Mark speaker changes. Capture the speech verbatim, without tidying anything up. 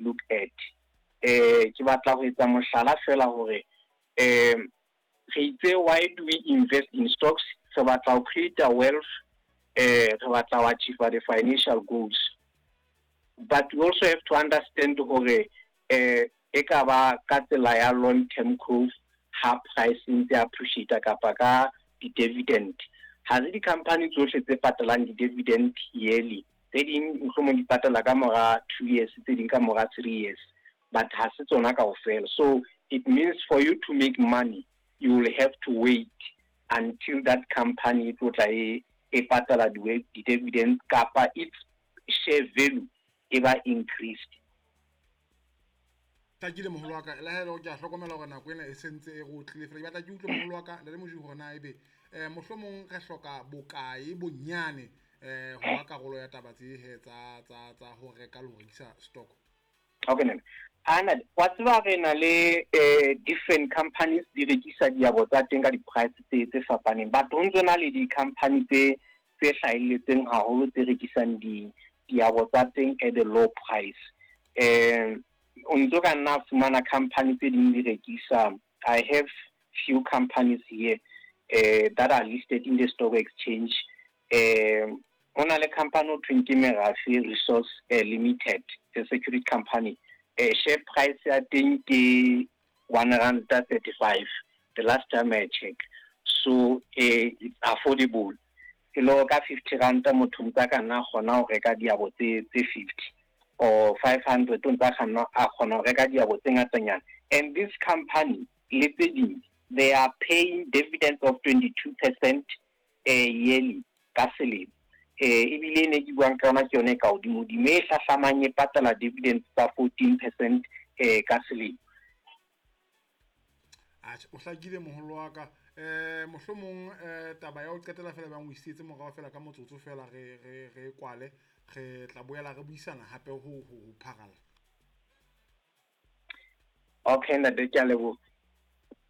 Speaker 1: look at. Eh ke batla ho etsa mohlala fela hore um re itse why do we invest in stocks? Re batla ho create a wealth, eh re batla ho achieve the financial goals. But we also have to understand hore eh e ka ba ka tsela ya long term growth ha price e ntse appreciate kapa ka di-dividend. Ha se di-company tsohle tse patalang di-dividend yearly. Tse ding mohlomong di patala ka mora two years, tse ding ka mora three years. But ha se tsona kaofela. So it means for you to make money, you will have to wait until that company e tlo tla e e patala di-dividend kapa its share value e ba increased.
Speaker 2: Hlakile moholo wa ka, le ha e le hore ke a hlokomela hore nako ena e sentse e re otlile fela. Ke batla ke utlwe moholo wa ka, Ntate Moji, hore na ebe eh mohlomong re hloka bokae bonyane eh ho ba karolo ya taba tse he tsa tsa tsa ho reka le ho rekisa stock.
Speaker 1: Okay, nene. Ana wa tseba re na le eh different companies di rekisa diabo tsa teng ka di-price tse tse fapaneng, but ho ntso na le di-company tse tse hlahelletseng haholo tse rekisang di diabo tsa teng at a low price. Eh o ntso ka nna fumana company tse ding di rekisa. I have few companies here eh that are listed in the stock exchange. Eh ho na le company ho thweng ke Merafe Resource eh, Limited, a security company. Eh share price ya teng ke one rand thirty-five the last time I check. So eh it's affordable. E le ka fifty rand motho ntsa ka nna kgona ho reka diabo tse tse fifty or five hundred o ntsa kgona a kgona ho reka diabo tse ngatanyana. And this company le tse ding, they are paying dividends of twenty-two percent eh yearly ka selemo. Eh ebile ne ke buang ka yona ke yone e ka hodimo-dimo, e hlahlamang e patala dividends tsa fourteen percent eh ka selemo.
Speaker 2: Atjhe, o hlakile moholo wa ka. Eh mohlomong eh taba ya ho qetela fela bang o isetse morao fela ka motsotso fela re re re kwale, re tla boela re buisana hape ho ho pharalla.
Speaker 1: Okay, ntate, ke a leboha.